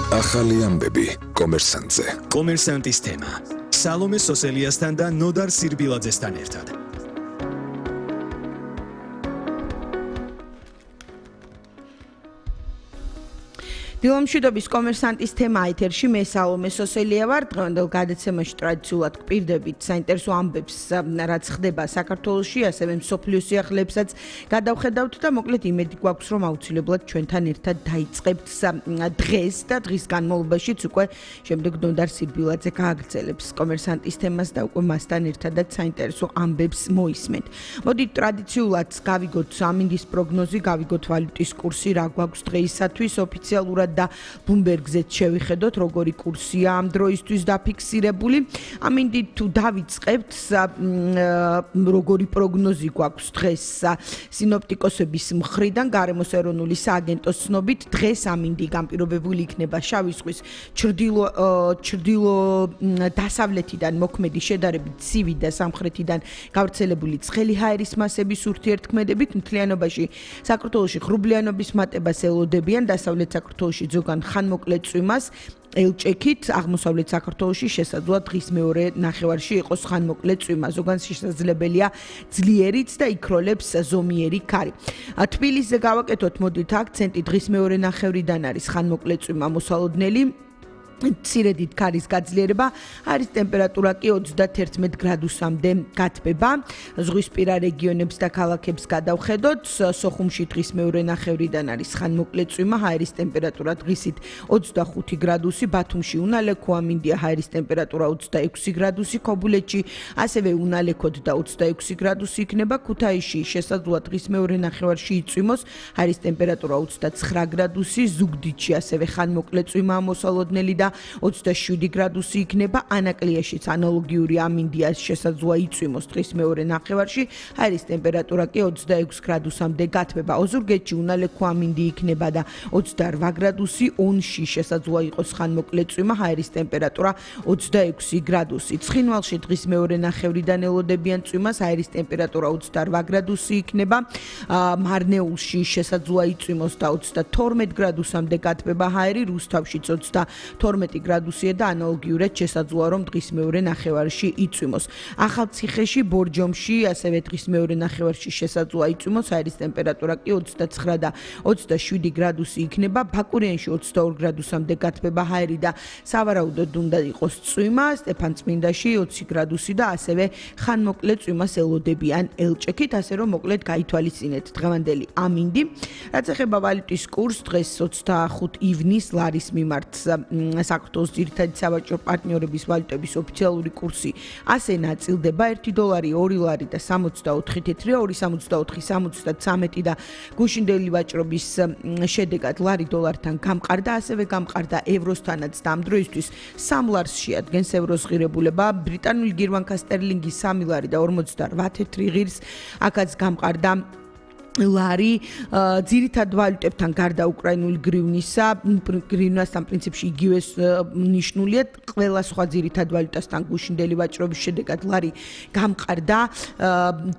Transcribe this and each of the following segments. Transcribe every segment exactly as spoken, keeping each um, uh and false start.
ახალი ამბები კომერსანტზე. კომერსანტის თემა. სალომე სოსელიასთან და ნოდარ სირბილაძესთან ერთად. დილომშვიდობის კომერსანტის თემა ეთერში მე სალომე სოსელია ვარ. დღევანდელ გადაცემაში ტრადიციულად გვპირდებით საინტერესო ამბებს, რაც ხდება საქართველოში, ასევე მსოფლიო სიახლეებსაც გადავხედავთ და მოკლედ იმედი გვაქვს, რომ აუცილებლად ჩვენთან ერთად დაიწყებთ დღეს და დღის განმავლობაშიც უკვე შემდეგ ნოდარ სირბილაძე გააგრძელებს კომერსანტის თემას და უკვე მასთან ერთადაც საინტერესო ამბებს მოისმენთ. მოდით ტრადიციულად გავიგოთ ამინდის პროგნოზი, გავიგოთ ვალუტის კურსი, რა გვაქვს დღეისათვის ოფიციალურად და ბლუმბერგზეც შევიხედოთ, როგორი კურსია ამ დროისთვის დაფიქსირებული. ამინდით თუ დავიწყებთ, როგორი პროგნოზი გვაქვს დღეს სინოპტიკოსების მხრიდან, გარემოს ეროვნული სააგენტოს ცნობით, დღეს ამინდი განპირობებული იქნება შავი ზღვის ჩრდილო ჩრდილო დასავლეთიდან მოქმედი შედარებით ცივი და სამხრეთიდან გავრცელებული ცხელი ჰაერის მასების ურთიერთქმედებით. მთლიანობაში საქართველოში ღრუბლიანობის მატებას ელოდებიან, დასავლეთ საქართველოში ზოგან ხანმოკლე წვიმას ელჭექით, აღმოსავლეთ საქართველოში შესაძლოა დღის მეორე ნახევარში იყოს ხანმოკლე წვიმა, ზოგან შესაძლებელია ძლიერიც და იქროლებს ზომიერი ქარი. თბილისზე გავაკეთოთ მოდით აქცენტი, დღის მეორე ნახევრიდან არის ხანმოკლე წვიმა მოსალოდნელი. მცირედით ქარის გაძლიერება, არის ტემპერატურა კი ოცდაათი გრადუსამდე გათბება. ზღვისპირა რეგიონებს და ქალაქებს გადავხედოთ. სოხუმში დღის მეორე ნახევრიდან არის ხანმოკლე წვიმა, ჰაერის ტემპერატურა დღისით ოცდახუთი გრადუსი, ბათუმში უნალექო, ამინდია ჰაერის ტემპერატურა ოცდაექვსი გრადუსი, ქობულეთში ასევე უნალექოდ და ოცდაექვსი გრადუსი იქნება, ქუთაისში შესაძლოა დღის მეორე ნახევარში იწვიმოს, ჰაერის ტემპერატურა ოცდაცხრა გრადუსი, ზუგდიდში ასევე ხანმოკლე წვიმაა მოსალოდნელი და ოცდაშვიდი გრადუსი იქნება, ანაკლიაშიც ანალოგიური ამინდია შესაძლოა იწვიმოს დღის მეორე ნახევარში, ჰაერის ტემპერატურა კი ოცდაექვსი გრადუსამდე გათბება. ოზურგეთში უნალექო ამინდი იქნება და ოცდარვა გრადუსი, ონში შესაძლოა იყოს ხანმოკლე წვიმა, ჰაერის ტემპერატურა ოცდაექვსი გრადუსი. ცხინვალში დღის მეორე ნახევრიდან ელოდებიან წვიმას, ჰაერის ტემპერატურა ოცდარვა გრადუსი იქნება, მარნეულში შესაძლოა იწვიმოს და ოცდათორმეტ გრადუსამდე გათბება ჰაერი, რუსთავშიც ოცდათორმეტი გრადუსია და ანალოგიურად შესაძლოა რომ დღის მეორე ნახევარში იწვიმოს. ახალციხეში, ბორჯომში ასევე დღის მეორე ნახევარში შესაძლოა იწვიმოს, ჰაერის ტემპერატურა კი ოცდაცხრა და ოცდაშვიდი გრადუსი იქნება, ბაკურიანში ოცდაორი გრადუსამდე გათბება ჰაერი და სავარაუდოდ უნდა იყოს წვიმა, სტეფანწმინდაში ოცი გრადუსი და ასევე ხანმოკლე წვიმას ელოდებიან ელჭექით, ასე რომ მოკლედ გაითვალისწინეთ დღევანდელი ამინდი. რაც ეხება ვალუტის კურსს, დღეს ოცდახუთი ივნისს ლარის მიმართ საქართველოს ძირითადი სავაჭრო პარტნიორების ვალუტების ოფიციალური კურსი ასე ნაწილდება: ერთი დოლარი ორი ლარი და სამოცდაოთხი თეთრია, ორი სამოცდაოთხი სამოცდათვრამეტი და გუშინდელი ვაჭრობის შედეგად ლარი დოლართან გამყარდა, ასევე გამყარდა ევროსთანაც და ამ დროისთვის სამ ლარს შეადგენს ევროს ღირებულება. ბრიტანული გირვანქა სტერლინგი სამი ლარი და ორმოცდარვა თეთრი ღირს, აქაც გამყარდა ლარი. ძირითად ვალუტებთან გარდა უკრაინული გრივნისა, გრივნასთან პრინციპში იგივე ნიშნულია, ყველა სხვა ძირითად ვალუტასთან გუშინდელი ვაჭრობის შედეგად ლარი გამყარდა.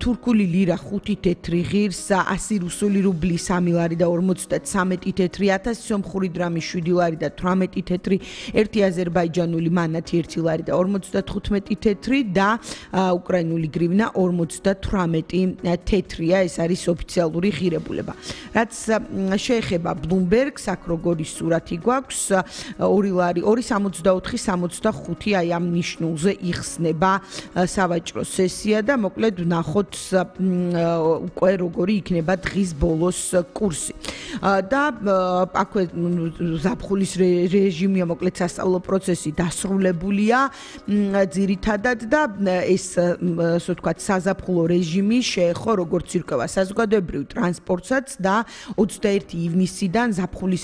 თურქული ლირა ხუთი თეთრი ღირს, ასი რუსული რუბლი სამი ლარი და ორმოცდათვრამეტი თეთრი, ათასი სომხური დრამი შვიდი ლარი და თვრამეტი თეთრი, ერთი აზერბაიჯანული მანათი ერთი ლარი და ორმოცდათხუთმეტი თეთრი და უკრაინული გრივნა ორმოცდათვრამეტი თეთრია. ეს არის ოფიციალური ღირებულება. რაც შეეხება ბლუმბერგს, აქ როგორი სურათი გვაქვს, ორი ლარი, ორი სამოცდაოთხი სამოცდახუთი, აი ამ ნიშნულზე იხსნება სავაჭრო სესია და მოკლედ ვნახოთ უკვე როგორი იქნება დღის ბოლოს კურსი. და აქვე ზაფხულის რეჟიმია, მოკლედ სასწავლო პროცესი დასრულებულია ძირითადად და ეს ასე ვთქვათ საზაფხულო რეჟიმი შეეხო როგორც ირკვევა საზოგადოებრივ ტრანსპორტსაც და ოცდაერთი ივნისიდან ზაფხულის